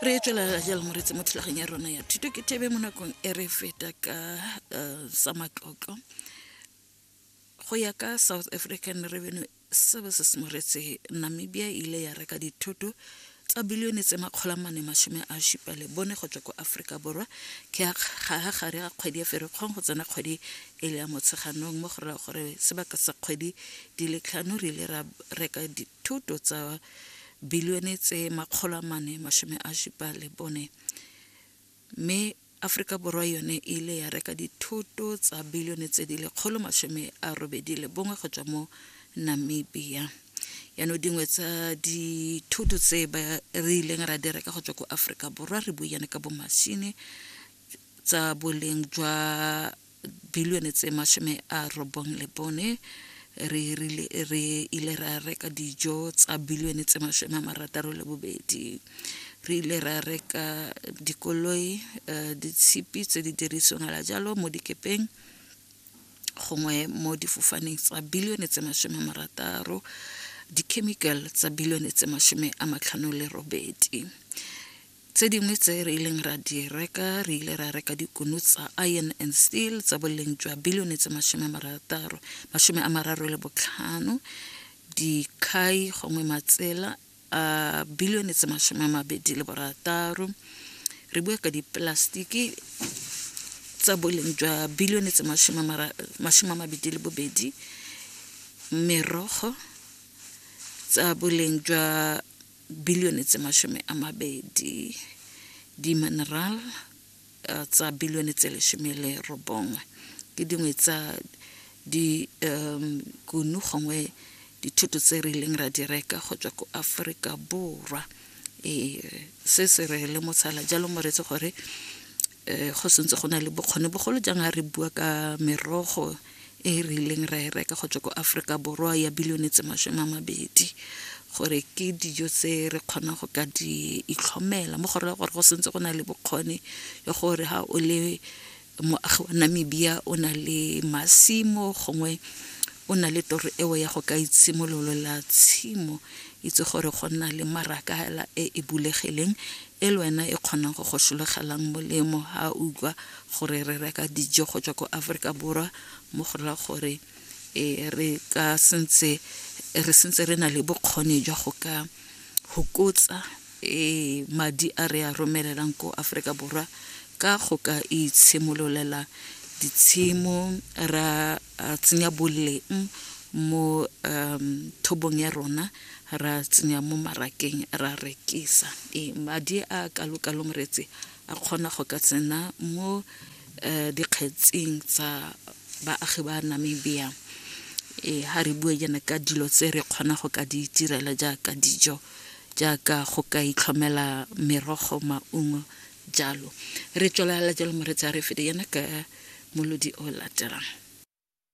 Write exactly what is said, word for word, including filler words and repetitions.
Re tswelela jalo moretsi mo thulaganyong ya rona ya thuto ke thebe mo nakong e re feta ka uh, sa matlotlo. Go ya ka South African Revenue Services moretsi, Namibia e ile ya reka dithoto tsa bilione tse makgolo a mane masome a supa le bone go tswa ko Aforika Borwa ke ga gare ga kgwedi ya Ferikgong go tsena kgwedi e le ya Motsheganong, mo go raya gore sebaka sa kgwedi di le tlhano re ile ra reka dithoto tsa bilione tse makgolo a mane masome a supa le bone, mme Aforika Borwa yone e ile ya reka dithoto tsa bilione tse di lekgolo masome a robedi le bongwe go tswa mo Namibia. Yaanong dingwe tsa dithoto tse ba re ileng ra di reka go tswa ko Aforika Borwa re buiane ka bo machine tsa boleng jwa bilione tse masome a robong le bone, re rile re ile ra reka dijo tsa bilione tse masome a marataro le bobedi, re ile ra reka dikoloi, uh, ditshipi tse di dirisiwang la jalo mo dikepeng gongwe mo difofaneng tsa bilione tse masome a marataro, di-chemical tsa bilione tse masome a matlhano le robedi. Tse dingwe tse re ileng ra di reka, re ile ra reka dikuno tsa iron and steel tsa boleng jwa bilione tse masome a marataro masome a mararo le botlhano, dikhai gongwe matsela a bilione tse masome a mabedi le borataro, re bua ka diplastiki tsa boleng jwa bilione tse masome a mabedi le bobedi, merogo tsa boleng jwa bilione tse masome a mabedi, di-mineral uh, tsa bilione tse lesome le robongwe. Ke dingwe tsa di um kuno gongwe dithoto tse re ileng ra di reka go tswa ko Aforika Borwa. E se se re le motshala jalo moretsi gore um go sentse go na le bokgoni bogolo jang ha re bua ka merogo e re ileng ra e reka go tswa ko Aforika Borwa ya bilione tse masome a mabedi, gore ke dijo tse re kgonang go ka di itlhomela mo go raya gore go sentse go na le bokgoni ya gore ha o le moagi wa Namibia o na le masimo gongwe o na le toro eo ya go ka itshimololela tshimo, itse gore go nna le maraka hela e e bulegileng e le wena e kgonang go go sologelang molemo ha o utlwa gore re reka dijo go tswa ko Aforika Borwa, mo go raya gore e re ka sentse re sentse re na le bokgoni jwa go ka hokotsa e madi a re a romelelang ko Aforika Borwa ka go ka itshimololela ditshimo, ra tsenya boleng mo um thobong ya rona, ra tsenya mo marakeng ra rekisa. E madi a kalo-kalo moretsi a kgona go ka tsena mo uh, dikgetsing tsa baagi ba Namibia. E ha re bua jaana ka dilo tse re kgona go ka di itirela jaaka dijo, jaaka go ka itlhomela merogo, maungo jalo. Re tswelela jalo moretsi, a re fete yana ka molodi o latelang.